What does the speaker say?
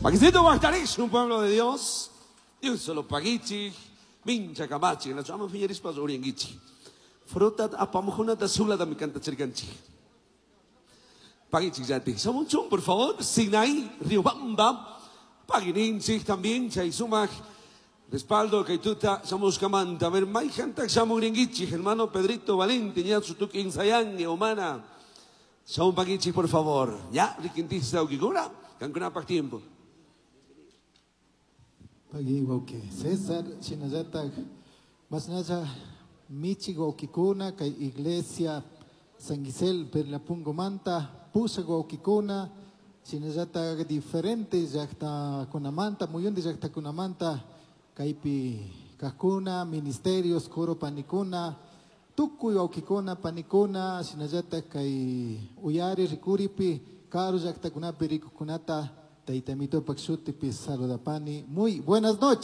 Paquicito un pueblo de Dios. Dios solo pagichi, mincha kamachi, na chama fiñarispa urianguichi. Fruta apamujunata sulata mi canta chirkanchi. Pagichi yati. Samunchun, por favor, Sinaí, Riobamba, Pagininchi también, Chaisumac. Respaldo Kaituta, Samuskamanta. A ver, Maijanta Samuringuichi, hermano Pedrito Valente, Ñatsutuk Insayangue, Omana. Samun Pagichi, por favor. Ya, Riquintista Ukikura, Cancuna tiempo. Pagi wauki César, shinallatak mashnalla michi wawkikuna kay iglesia San Gisel Perlapungomanta pushak wawkikuna shinallatak diferente llaktakunamanta muyunti llaktakunamanta kaypi kajkuna ministerios coro panikuna tukuy wawkikuna panikuna shinallatak kay uyari rikuripi karu llaktakunapi rikukunata Tayta Mitopak shutipi saludapani. Muy buenas noches.